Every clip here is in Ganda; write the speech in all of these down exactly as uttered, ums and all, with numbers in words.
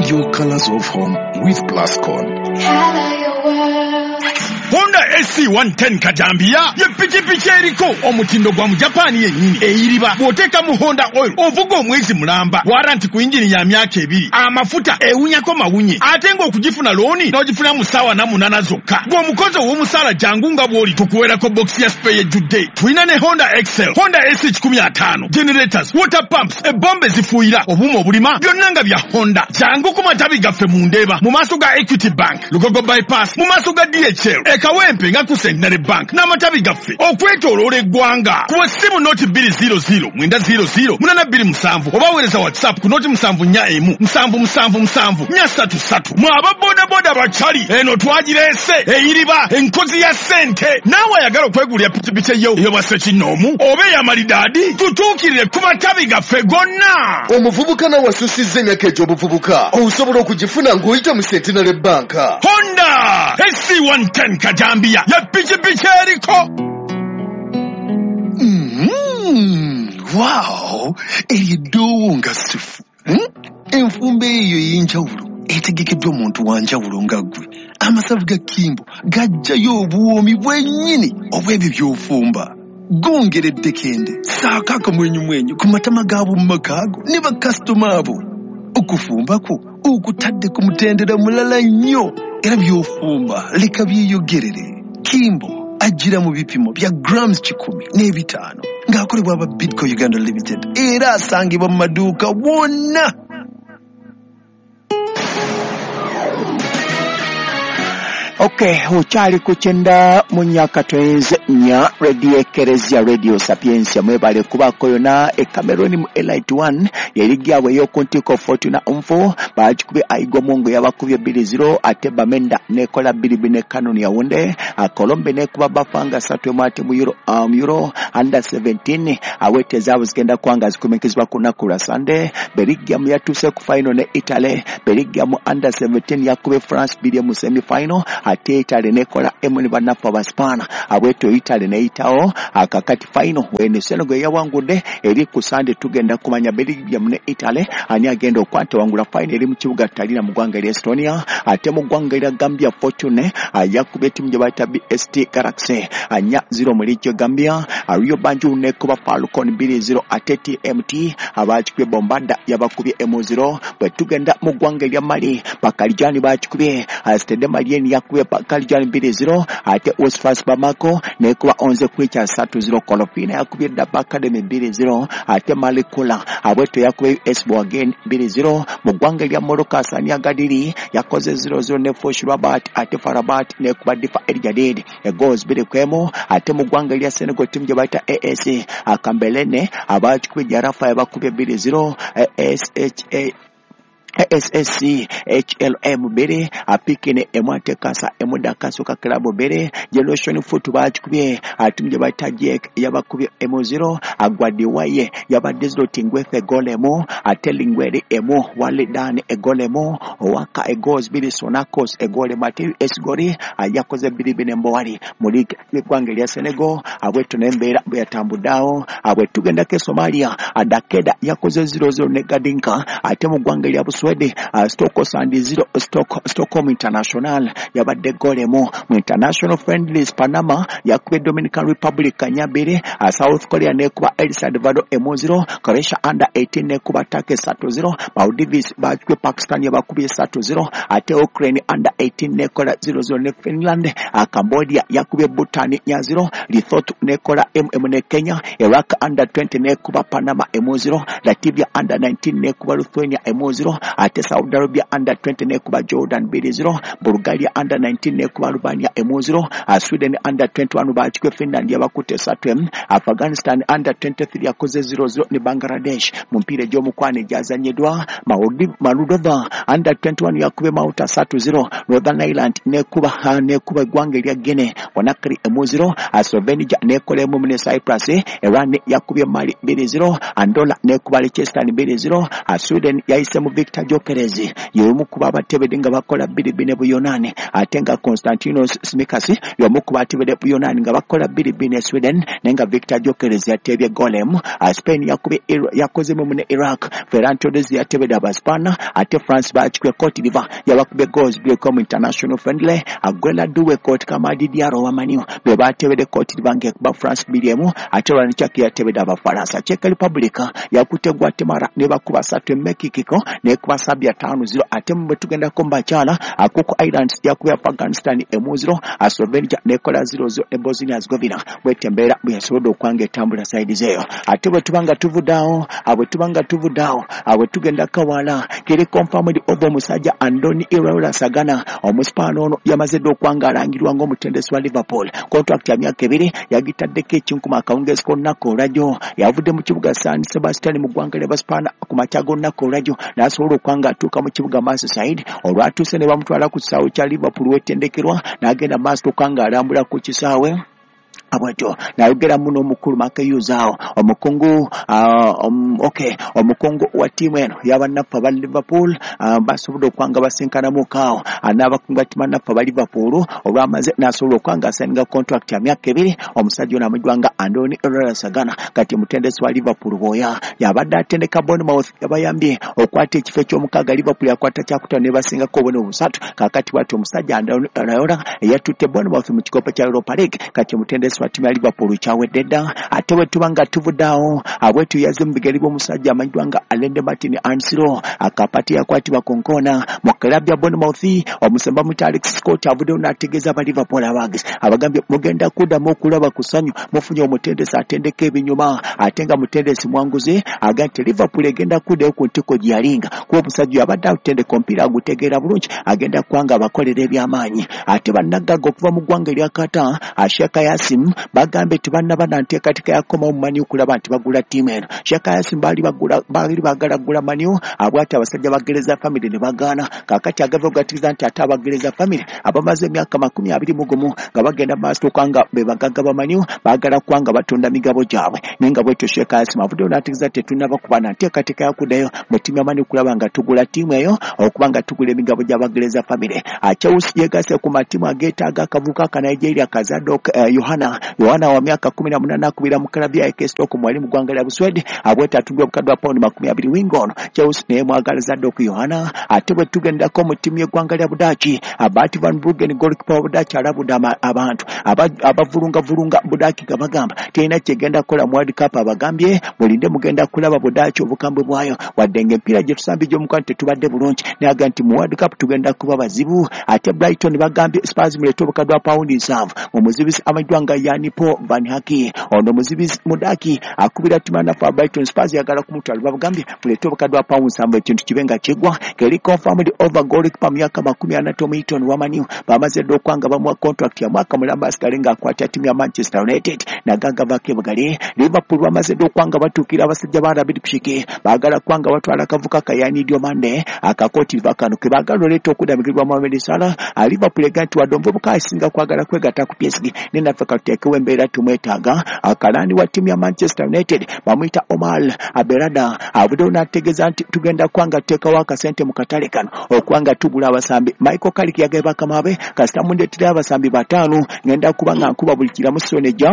Find your colors of home with Plascon. Color your world. Honda S C one ten kajambiya ye pikipiki eriko omutindo gwa mu Japaani yennyini, eyiriba bw'oteeka mu Honda oil ovuga omwezi mulamba, warranty ku yingini ya myaka ebiri, amafuta ewunyako mawunye, ate ng'okugifuna looni n'ogifuna mu ssaawa na munaana zokka. Gw'omukozi ow'omusaala, jangu nga bw'oli tukuweerako bokisi ya spare ejjudde. Tulina ne Honda Excel, Honda S one five, generators, water pumps, ebombe zifuuyira, obuuma obulima, byonna nga bya Honda. Jangu ku matabi gaffe mu Ndeeba mu maaso ga Equity Bank, Lugogo Bypass mu maaso ga D H L, e Kawempe nga ku Centenary Bank, n'amatabi gaffe okwetooloola eggwanga. Kuba essimu noti bbiri zero zero mwenda zero zero munana bbiri musanvu oba weereza WhatsApp ku noti musanvu nnya emu musanvu musanvu musanvu nnya ssatu ssatu. Mwe aba bodaboda bakyali eno twagireese, eyiriba enkozi ya ssente. Naawe ayagala okwegulira pikipiki eyo ey'obwassekinnoomu oba ey'amalidaadi, tutuukirire ku matabi gaffe gonna. Omuvubuka nawe asusizza emyaka egy'obuvubuka, osobola okugifuna ng'oyita mu Centenary Bank. Honda S C one ten kajambiya ye pikipiki eriko. Mm, wow, eryo eddoowo nga sifu. Hmm? Enfumba eyo ey'enjawulo etegekeddwa omuntu wa njawulo nga ggwe. Amasavu ga Kimbo gajjayo obuwoomi bwennyini obw'ebyo by'ofumba, gongera eddekende, saako akamwenyumwenyu ku matama g'ab'omu maka go ne bakasitoma abo. Okufumba kwo okutadde ku mutendera mulala nnyo, era by'ofumba leka byeyogerere. Kimbo ajjira mu bipimo bya grams kikumi n'ebitaano ng'akolebwa aba Bidco Uganda Limited, era asangibwa mu maduuka wonna. Okay, okyali ku kyenda mu myaka twenze nnya, Radio Ekereziya, Radio Sapiensia. Mwebale kubaako yonna. E Cameroon mu Elite one yerigi abwe ey'oku ntikko, Fortuna Nfo bagikubye Aigomungu, yabakubye bbiri zero, ate Bamenda nekola bbiri bbiri ne Canon Yaounde. Colombe nekuba Bafanga ssatu emu. Ate mu Euro, um, Euro under seventeen awete zaabwe zigenda kubanga zikumikizibwa ku lunaku lwa Sunday. Belgium yatuuse ku final ne Italy. Belgium under seventeen yakubye France bbiri mu semi final, ate Italy nekola emu ne bannaffe Abaspaana. Abwetyo Italy neyitawo. Akakati final wene Senegal yawangudde eri ku Sunday. Tugenda kumanya Belgium ne Italy ani agenda okwata wangula. Final eri mu kibuga Tallinn mu ggwanga erya Estonia. Ate mu ggwanga erya Gambia, Fortune yakubye ttiimu gye bayita B S T Galaxy anya zero mu liigi Gambia. Rio Banjul nekuba Falcon bbiri zero, ate T M T abakikubye Bombada, yabakubye emu zero. Bwe tugenda mu ggwanga erya Mali, Bakalijani bakikubye Stade Malien, yakubye Bakalijani bbiri zero, ate Usfas Bamako nekuba Onze Kwicha ssatu zero. Kolofina yakubye Daba Academy bbiri zero, ate Malikula abweto yakubye U S Bouagué bbiri zero. Mu ggwanga erya Morocco, Hassania Gadiri yakoze zero zero ne Fush Rabat, ate F A R Rabat nekuba Difa El Jadid egoals bbiri ku emu. Ate mu ggwanga erya Senegal, ttiimu gye bayita A S Akambelene abakikubye Jarafa, yabakubye bbiri zero. S H A S S C H L M bbiri, Apikine emu, ate Kasa emu, Dakasuka Club bbiri. Generation Foot bakikubye atimu gye bayita Jek, yabakubye emu zero. Agwadiwaye yabadde zero, Tingwethe goal emu, ate Lingweri emu, Walidan egoal emu, Owaka egoals bbiri, Sonakos egoal emu, ate Esgori yakoze bbiri bbiri Mbowali mu liigi y'eggwanga erya Senegal. Abweto n'embeera bwe yatambuddeawo. Abwe tugendako e Somalia, Adakeda yakoze zero zero ne Gadinka, ate mu ggwanga erya Buswede, uh, Stockholm zero, Stock, Stockholm International yabadde goal emu. Mu international friendlies, Panama yakubye Dominican Republic nya bbiri, uh, South Korea nekuba El Salvador emu zero, Croatia under eighteen nekuba Turkey ssatu zero, Maldives bakubye Pakistan, yabakubye ssatu zero, ate Ukraine under eighteen nekola zero zero ne Finland, uh, Cambodia yakubye Bhutan nya zero, Lesotho nekola mm ne Kenya, Iraq under twenty nekuba Panama emu zero, Latvia under nineteen nekuba Lithuania emu zero, ate Saudi Arabia under twenty nekuba Jordan bbiri zero, Bulgaria under nineteen nekuba Albania emu zero, uh, Sweden under twenty-one bakikwe Finland, yabakutte ssatu emu, Afghanistan under twenty-three yakoze zero zero ne Bangladesh. Mu mpiira egy'omukwano egyazanyiddwa, Moldova under twenty-one yakubye Malta ssatu zero, Northern Ireland nekuba nekuba eggwanga erya Guinea Conakry emu zero, Slovenia nekola emu ne Cyprus, Iran yakubye Mali bbiri zero, Andorra nekuba Liechtenstein bbiri zero, Sweden yayise mu victory. Victor Gyökeres y'omu ku babatebedde nga bakola bbiri bbiri ne Buyonaani, ate nga Konstantinos Tsimikas y'omu ku batebedde Buyonaani nga bakola bbiri bbiri ne Sweden, naye nga Victor Gyökeres yatebye golem. Spain yakubye yakozemu ne Iraq, Ferran Torres yatebedde Abaspana, ate France bakikwe Cote d'Ivoire yabakubye goals bbiri mu international friendly. Aguela Doué Cote Kamadi Diarra wa Man U be batebedde Cote d'Ivoire ng'ekuba France bbiri emu, ate Ryan Cherki yatebedde Abafaransa. Czech Republic yakute Guatemala ne bakuba ssatu e Mexico n'ekuba Serbia ttaano zero, ate bwe tugendako mu bakyala Cook Islands yakubye Afghanistan emu zero, Slovenia n'ekola zero zero ne Bosnia Herzegovina. Bw'etyo embeera bwe yasobodde okwanga etambula sayidi zeeyo. Ate bwe tuba nga tuvudde awo, bwe tuba nga tuvudde awo, bwe tugenda Kawala kiri confirmed over omusajja Andoni Iraola Sagana, omuspaano ono yamaze dda okwanga alangirwa ng'omutendesi wa Liverpool. Contract ya myaka ebiri yagitaddeko ekinkuma akawungeezi k'olunaku olwajjo. Yavudde mu kibuga San Sebastian mu ggwanga lya Baspaana ku makya g'olunaku olwajjo n'asobola okwanga atuuka mu kibuga Merseyside. Olwatuuse ne bamutwala ku kisaawe kya Liverpool wetendekerwa n'agenda maaso okwanga alambula ku kisaawe bwatyo nayogera muno omukulu Mark Hughes awo omukungu uh, um, okay omukungu wa ttiimu eno y'abannaffe aba Liverpool uh, basobodde okwanga basinkanamuko awo n'abakungu ba ttiimu bannaffe aba Liverpool olwamaze n'asobola okwanga asayininga contract ya myaka ebiri. Omusajja ono amanyiddwa nga Andoni Iraola Sagana kati mutendesi wa Liverpool bw'oya yabadde atendeka Bournemouth yabayambye okwata ekifo eky'omukaaga. Liverpool yakwata kyakutaano ne basingako obubonero busatu. Kaakati bw'atyo omusajja Andoni Iraola eyatutte Bournemouth mu kikopo kya Europa League kati mutendesi wa ttiimu ya Liverpool kyawedde dda. Ate bwe tuba nga tuvudde awo, abwetu yazze mu bigere by'omusajja amanyiddwa nga Alende Martin Ansiro akapati yakwatibwa ku nkoona mu club ya Bournemouth. Omusemba muyita Alex Scott avuddeyo n'ategeeza aba Liverpool abaagezi abagambye mugenda kuddamu okulaba ku ssanyu, mufunye omutendesi atendeka ebinyuma ate nga mutendesi mwanguzi. Agambye nti Liverpool egenda kuddayo ku ntiko gye yalinga kuba omusajja abadde atendeka omupiira agutegeera bulungi, agenda kubanga abakolera eby'amaanyi. Ate bannagagga okuva mu ggwanga erya Qatar Sheikh Yasim bagambe tebannaba na nteekateeka yakomawo mu Man U okulaba nti bagula ttiimu eno. Sheikh Yasim baali baali baagala kugula Man U, abwati abasajja ba Glazer family ne bagaana. Kaakati agava okugattiriza nti ate aba Glazer family abamaze emyaka makumi abiri mu gumu nga bagenda maaso okubanga be bagagga ba Man U baagala kubanga batunda migabo gyabwe, naye nga bwetyo Sheikh Yasim avuddeyo n'ategeeza tetunnaba kuba na nteekateeka yakuddayo mu ttiimu ya Man U okulaba nga tugula ttiimu eyo okuba nga tugula emigabo gy'aba Glazer family. Chelsea yegasse ku matiimu ageetaaga akavubuka aka Nigeria ka Zadok Yohana Yohana wa myaka kumi na munaana akubira mu club ya A K Stockholm wali mu ggwanga lya Buswedi abweta atundwa obukadde bwa pawundi makumi abiri winga ono Chelsea naye mwagala Zadok Yohana. Ate bwe tugendako mu ttiimu y'eggwanga lya Budaaki, Bart van Bruggen goalkeeper wa Budaaki alabudde abantu abavulungavulunga Budaaki nga bagamba terina kyegenda kukola mu World Cup. Abagambye mulinde mugenda kulaba Budaaki obukambwe bwayo, wadde ng'emipiira gye tusambye gy'omukwano tetubadde bulungi, naye agamba nti mu World Cup tugenda kuba bazibu. Ate Brighton bagambye Spurs muleete obukadde bwa pawundi nsanvu mu muzibizi amanyiddwa nga Yanipo Van Haki. Ono muzibizi Mudaki akubira ttiimu naffe Brighton Spurs yagala kumutwala, babagambye muleete obukadde bwa pawundi nsanvu ekintu kibe nga kigwa. Keri confirmed over goalkeeper myaka makumi ana Tom Heaton wa Man U bamaze dda okwanga bamuwa contract ya mwaka mulamba asigale ng'akwata ttiimu ya Manchester United naganga vaako ebugali. Liverpool bamaze dda okwanga batuukira abasajja ba Rabid Pshiki baagala kwanga batwala akavuka ka Yani Diomande akakooti kano ke baagala oleeta okudamigirwa Mohamed Salah. Liverpool egamba nti wadde omuvubuka asinga kwagala kwegatta ku P S G naye naffe katuteekewo embeera tumwetaaga. Akalani wa ttiimu ya Manchester United bamuyita Omar Berada avuddeyo n'ategeeza nti tugenda kwanga tuteekawo akasente mu katale kano okwanga tugula abasambi. Michael Carrick yagambye bakama be kasita mundeetera abasambi bataano ngenda kuba nga nkuba buli kiramu sonejja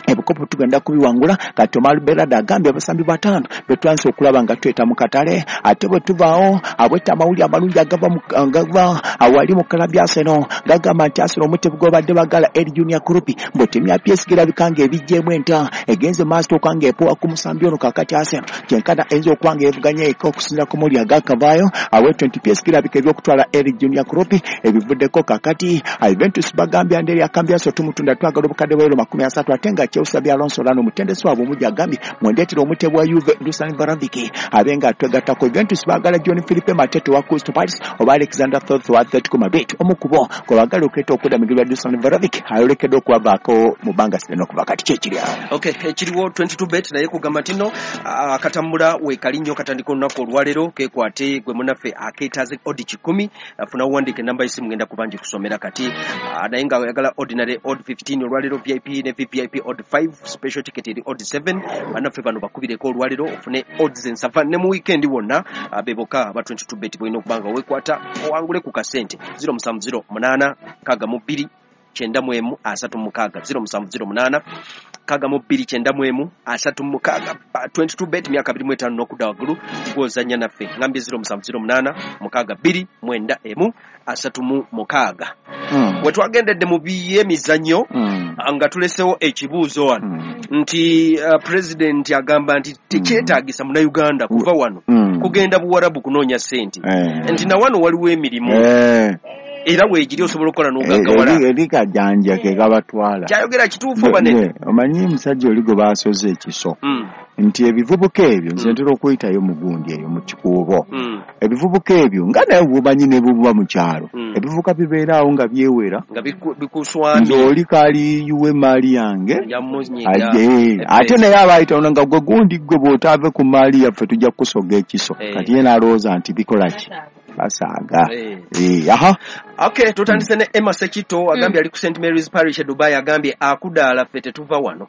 ebikopo tugenda kubiwangula. Kati Omar Berada agambye abasambi bataano betwanse okulaba nga tweta mu katale. Ate bwe tuvaawo abweta amawulire amalungi agava agava awali mu club ya Arsenal gagamba nti Arsenal omutebi gw'abadde bagala El Junior Krupi mbu ttiimu ya P S G erabika ng'ebiggyemu enta egenze maaso okwanga epowa ku musambi ono. Kaakati Arsenal kyenkana eyinza okuba nga evuganya eka okusinziira ku mawulire agakavaayo awetyo nti P S G erabika eby'okutwala El Junior Krupi ebivuddeko. Kaakati Juventus bagambye Andrea Cambiaso tumutunda twagala obukadde bwa euro makumi asatu ate nga Chelsea Alonso Lano mutendesi waabwe omujja agambye mwendeetera omutebe wa Juve Dusan Vlahovic abe nga twegattako. Juventus baagala John Philippe Matete wa Crystal Palace oba Alexander Thorpe wa Atletico Madrid omu ku bo gwe baagala okuleeta okudamigirwa Dusan Vlahovic ayolekedde okubavaako mu bbanga sinene okuva kati kyekiri awo. Okay, ekiriwo twenty-two bet naye kugamba nti nno akatambula weekali nnyo katandika olunaku olwaleero kekwate gwe munnaffe akeetaaze odi kikumi funa owandiika enamba y'essimu ngenda kuba ngikusomera kati, naye nga oyagala ordinary odd fifteen olwaleero V I P ne V V I P odd five, special ticket eri odd seven. Bannaffe bano bakubireko olwaleero ofune odds ensava ne mu weekend wonna. ah, be bokka aba twenty-two bet bolina okuba nga weekwata owangule ku kasente. Zero musanvu zero munaana nkaaga mu bbiri kyenda mu emu asatu mu mukaaga, zero musanvu zero munaana nkaaga mu bbiri kyenda mu emu asatu mu mukaaga. Ba- twenty-two bet, myaka abiri mu etaano n'okudda waggulu, gw'ozannya naffe. Ngambye zero musanvu zero munaana mukaaga bbiri mwenda emu asatu mu mukaaga. Mm. We twagendedde mu by'emizannyo, Mm. nga tulesewo ekibuuzo wano Mm. nti uh, president agamba nti tekyetaagisa munnayuganda kuva wano Mm. kugenda Buwarabu kunoonya ssente, Eh. nti na wano waliwo emirimu Eh. era weegiri osobola okukola Eh, n'ogaggawala. eri eri kajanja ke kabatwala. Kyayogera kituufu oba nedda? Ne- omanyi musajja oli gwe baasoze ekiso Mm, nti ebivubuka ebyo, nze Mm. ntera okuyitayo mu gundi eyo mu kikuubo, mm, ebivubuka ebyo nga naye bumanyi ne buba mu kyalo, Mm. ebivubuka bibeera awo nga byewera, nga biku- bikuswamye, nze oli kaali yuwe maali yange yamunyiga. Aje, ate naye abayita nga gwe gundi gwe bw'otaave ku maali yaffe tujja kukusoga ekiso. Eh. Kati ye n'alowooza nti bikola ki, basaaga. Eh. Eh, aha. Okay, tutandise ne Emma Sekito, agambye ali ku Saint Mary's Parish e Dubai, agambye akudaala ffe tetuva wano.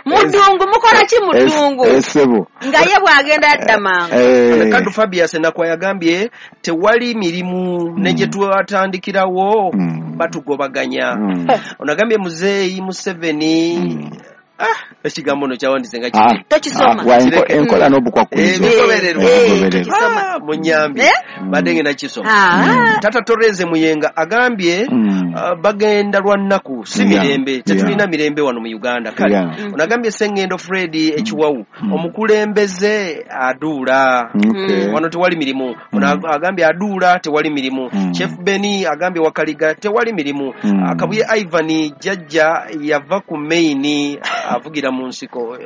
Mudungu mukola ki mudungu? Es- Essebo. Nga ye bw'agenda adda mangu. Eh, Kadu Fabius Nakwa yagambye tewali mirimu ne gye twatandikirawo Mm. batugobaganya. Mm. Ono agambye Muzeeyi Museveni, Mm. ah, ekigambo no kyawandiise nga Ah, kiki? Tokisoma. ah, wa, enko- Kireke. enkola n'obukwakkulizo. Ebigobererwa. Eh, Ebigobererwa. tokisoma. Ah, munyambye Eh? badde ngenda kisoma. Ah. Tata Toreze Muyenga agambye Mm. uh, bagenda lwa nnaku si Yeah. mirembe, tetulina Yeah. mirembe wano mu Uganda. Kale Yeah. ono agambye Sengendo Fred Ekiwawu, Mm. omukulembeze aduula, Okay. wano tewali mirimu. Ono Mm. ag- agambye aduula tewali mirimu. Mm. Chef Beni agambye Wakaliga tewali mirimu. Mm. Akabuye Ivan jjajja yava ku maini avugira mu nsiko.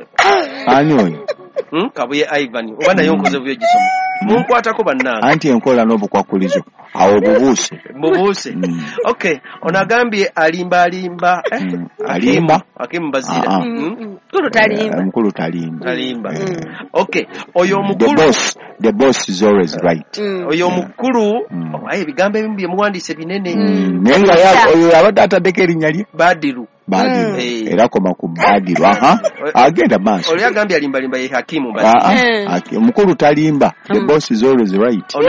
Ani oyo? Hmm? Kabuye Ivan oba naye nkoze buyo gisoma, munkwatako bannange. Anti enkola n'obukwakkulizo awo bubuuse. Mubuuse. Mm. Okay, ono agambye alimba alimba, eh, Mm. Alimba? Hakimu Bazira. Ah, ah. Mm? Mukulu talimba. Eh, mukulu talimba. Talimba. Eh, Okay, oyo the omukulu boss, the boss is always right. Mm. Oyo omukulu, Mm. oh, aye ebigambo ebimu bye muwandiise binene. Mm. Naye nga ya- oyo abadde ataddeko erinnya lye Badiru. Badiru. Mm. Era koma ku Badiru. Aha, agenda maaso. Oli agambye alimbalimba ye Hakimu Bazira. Ah, ah, Mm. aki- omukulu talimba, the Mm. boss is always right. Ono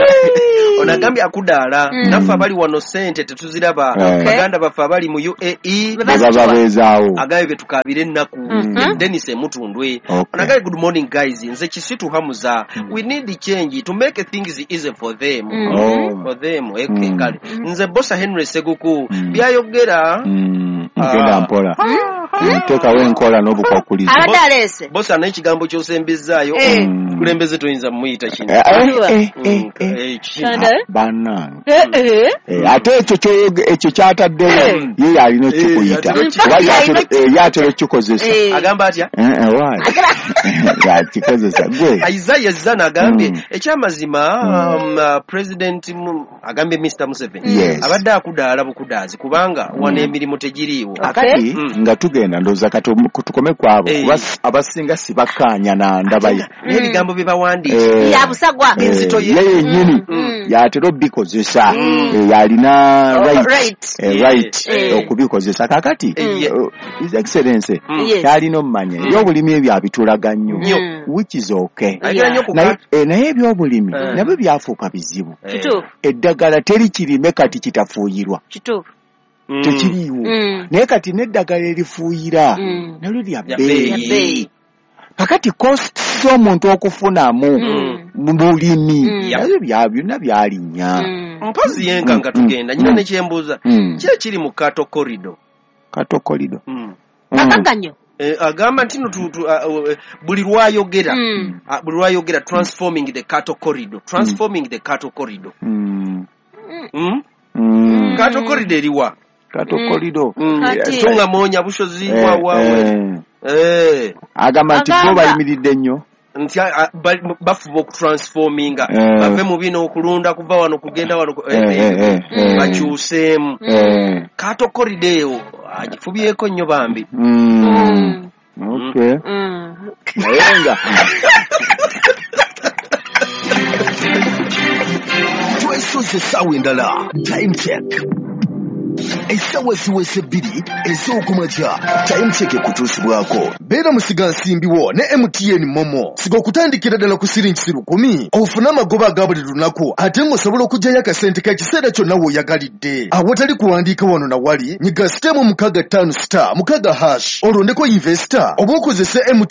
ono agambye akudaala, Mm. naffe abali wano ssente tetuziraba, Eh. baganda baffe abali mu U A E Be bwe baba beezaawo. Agambye betukaabira ennaku. Mhm. Denis Emutundwe Okay. ono agambye good morning guys, nze Kisitu Hamuza, we need change to make things easy for them. Mm. Oh. For them, okay. Mm. Kale nze Bosa Henry Seguku, Mm. byayogera. Mm, genda Ah. mpola. Mm, teekawo enkola n'obukwakkulizo. Abadde aleese. Bosa n'ekigambo ky'osembezaayo, Eh. Mm. kulembeze toyinza mumuyita kino. Eh, eh, eh, eh, Mm, eh. eh, kino. Kanda. Bannange. Eh, eh. Eh, ate ekyo kyoyoge- ekyo kyataddewo Eh. ye yalina okukiyita, Eh, yatera oba okukiyita. yatera- eh, yatera okukikozesa. Eh. Agamba atya? Eh, eh, why? Yakikozesa gwe. Isaiah Zana agambye Mm. ekyamazima, um, uh, president mu- agambye Mister Museveni Yes. abadde akudaala bukudaazi kubanga wano emirimu tegiriiwo. Akati Mm. nga tugenda, ndowooza kati omu- tukome ku abo, Eh. kuba s- abasinga sibakkaanya na ndaba ye. Naye ebigambo bye bawandiise Eh, Ya busagwa. eh, Enzito ye. ye yennyini Mm. yatera obikozesa. Mm. Eh, yalina Oh, right, right. eh, right Eh. okubikozesa. Kakati Eh, eh, His Excellency Mm. Yes. kyalina omumanya, ebyobulimi ebyo abitulaga nnyo, Nnyo. Mm. which is okay. Ayagala nnyo ku Naye eh, naye ebyobulimi Eh. nabyo byafuuka bizibu. Eh. Kituufu. Eddagala teri kirime kati kitafuuyirwa. Kituufu. Mm. Tekiriiwo. Mm. Naye kati n'eddagala erifuuyira Mm. nalyo lya Lya bbeeyi. Ya bbeeyi. Kakati cost z'omuntu okufunamu Mm. mu bulimi Mm. nabyo bya byonna byalinnya. Mm. Mpozi yenka nga Mm, tugenda nyina mm. nekyembuuza, Mm. ki ekiri mu Kato Corridor? Katokolido. Mm. Akaganyo. Eh, agamba nti no tu- tu- ah, oh, eh, buli lwayogera, Mm. ah, buli lwayogera transforming the Kato Corridor, transforming the Kato Corridor. Mm. Mm? Mm. Kato Corridor eriwa? Katokolido. Mm. Kati- Tunga moonya bushozi Eh, wa wa we. eh. Eh. Agamba nti bo Agamba- bayimiridde nnyo. Nti ah, ba- bafuba okutransforminga Eh. bave mu bino okulunda kuva wano kugenda wano ku- Eh, eh, eh, eh. bakyuseemu. Eh. Kato Corridor eyo agifubyeko nnyo bambi. Mm. Mm. Okay. Mm. Naye nga Twesoze essaawa endala. Time check. Essaawa ziweze bbiri ez'okumakya, Time Check ekutuusibwako. Beera musigansimbi wo ne M T N MoMo. Siga okutandikira ddala ku siringisi lukumi ofune amagoba aga buli lunaku, ate ng'osobola okuggyayo akasente k'ekiseera kyonna w'oyagalidde awatali kuwandiika wano na wali. Nyiga star mukaaga ttaano star mukaaga hash, olondeko investor oba okozese M T N.